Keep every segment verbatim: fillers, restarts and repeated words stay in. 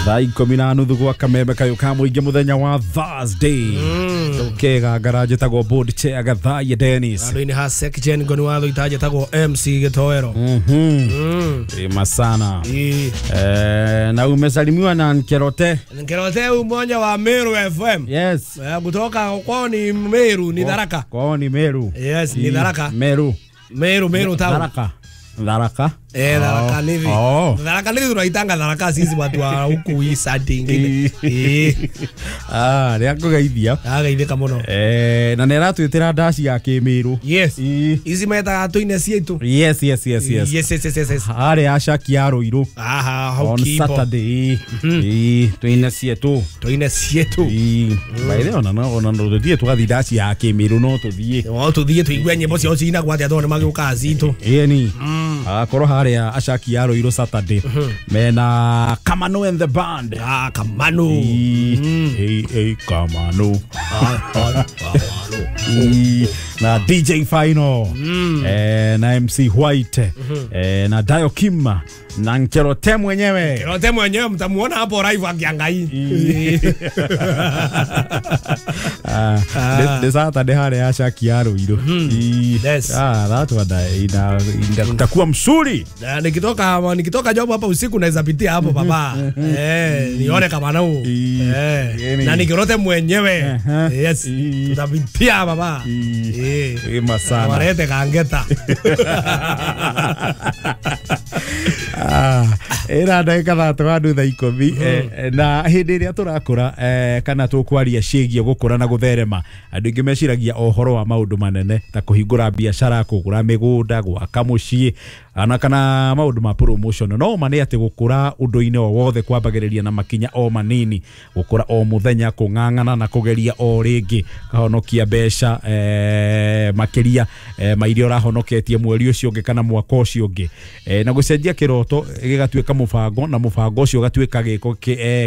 Thaa ikũmi na nuthu gwa kameme kayũ ka mũingĩ mũthenya wa Thursday. Tũkega ngara njĩtagwo board chair Gathaiya Dennis. Andũ-inĩ ha Sekjen ngoni watho itanjĩtagwo M C Gĩtoero. Mhm. Ema sana. Eh, na umesalimiwa na Nkerote. Nkerote umoja wa Meru F M. Yes. Eh, kutoka kwao ni Meru, ni Tharaka. Kwao ni Meru. Yes, ni Tharaka. Meru. Meru, Meru town. Tharaka. Tharaka. Eh, Tharaka nivi. Oh. Tharaka nivi tunaitanga Tharaka sisi watu wa huku hii side ingine. Eh. Ah, rĩa ngũgeithia. Ageithĩka mũno. Eh, na nĩ aratwĩtĩra ndaci ya Kĩmĩrũ. Yes. Ici metaga tũine ciitũ. Yes, yes, yes, yes. Yes, yes, yes, yes. Harĩa Ashaki ya Ruiru. Aha, hau On Kibo. Saturday. Eh, tũine ciitũ. Tũine ciitũ. Eh, by the way, ona ona no tũthiĩ tũgathiĩ ndaci ya Kĩmĩrũ no tũthiĩ. No tũthiĩ tũigue nyĩmbo ciao cinagwo atĩa tondũ nĩmagĩũkaga citũ. Ĩni. Akorwo harĩa Ashaki ya Ruiru Saturday. Mena Kamano and the band. Ah, Kamano. Eh, eh, Kamano. Ah, Kamano. Na D J Final. Eh, na M C White. Eh, na Dayo Kim na Nkerote mwenyewe. Nkerote mwenyewe mtamuona hapo live akiangai. Ah, this Saturday harĩa Ashaki ya Ruiru. Yes. Ah, that one ina itakuwa msuri. Na nikitoka nikitoka job hapa usiku naweza pitia hapo baba. Eh, nione kama nao. Eh, na Nkerote mwenyewe. Yes. Tutapitia baba. Eh. Ema sana. Warete kangeta. Ah, era ndagĩka thaa tano thaa ikũmi na hĩndĩ ĩrĩa tũrakũra kana tũkwaria ciĩgiĩ gũkũra na gũtherema andũ aingĩ meciragia ũhoro wa maũndũ manene ta kũhingũra biacara, kũgũra mĩgũnda, gwaka mũciĩ ana kana maũndũ ma promotion. No ma nĩ atĩ gũkũra ũndũ-inĩ o wothe kwambagĩrĩria na makinya o manini, gũkũra o mũthenya, kũng'ang'ana na kũgeria o rĩngĩ, kahonokia mbeca eh, makĩria eh, ma iria ũrahonoketie mweri ũcio ũngĩ kana mwaka ũcio ũngĩ, eh, na gũcenjia kĩroto gĩgatuĩka mũbango na mũbango ũcio ũgatuĩka gĩko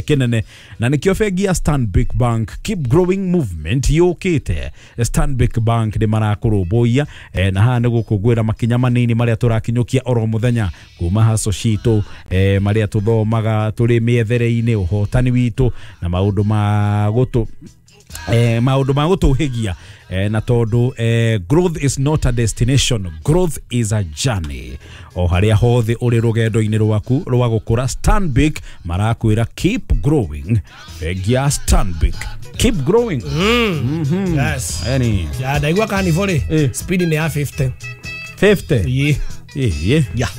kĩnene. Na nĩkĩo bengi ya Stanbic Bank Keep Growing Movement yũkĩte. Stanbic Bank nĩ marakũrũmbũiya eh, na haha nĩ gũkũngũĩra makinya manini marĩa tũrakinyũkia oro mũthenya kuma haco citũ, eh, marĩa tũthomaga tũrĩ mĩethere-inĩ, ũhotani witũ na maũndũ ma gũtũ eh, maũndũ ma gũtũhĩgia. Eh, na tondu eh, growth is not a destination, growth is a journey. O harĩa hothe ũrĩ rũgendo-inĩ rwaku rwa gũkũra, Stanbic marakwĩra keep growing. Bengi ya Stanbic, keep growing. Mm. Mm-hmm. Yes. Yani ya ndaigua kanivore eh. Speed ni ya fifty. fifty? Yeah. Yeah. Yeah.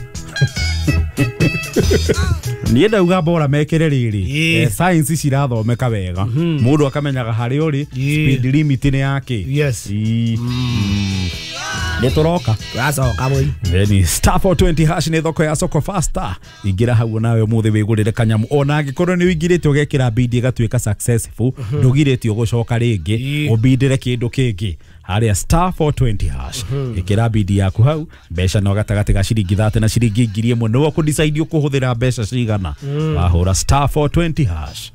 Niĩ ndauga bora mekĩre rĩrĩ yeah. Eh, science cirathomeka wega, mm -hmm. Mũndũ akamenyaga harĩa ũrĩ, yeah. Speed limit nĩ yake. Yes. Mm. Nĩ tũroka tũracoka boy. Then star four twenty hash nĩ thoko ya soko faster. Ingĩra hau nawe ũmũthĩ wĩgũrĩre kanyamu ona angĩkorwo nĩ ũingĩrĩte ũgekĩra bid ĩgatuĩka successful, ndũgirĩtio gũcoka rĩngĩ ũbindĩre kĩndũ kĩngĩ harĩa star four twenty hash. Ĩkĩra bid yaku hau, mbeca no gatagatĩ ga ciringi thate na ciringi ngiri ĩmwe nĩwe ũkũdecide ũkũhũthĩra mbeca cigana. Wahũra star four twenty hash.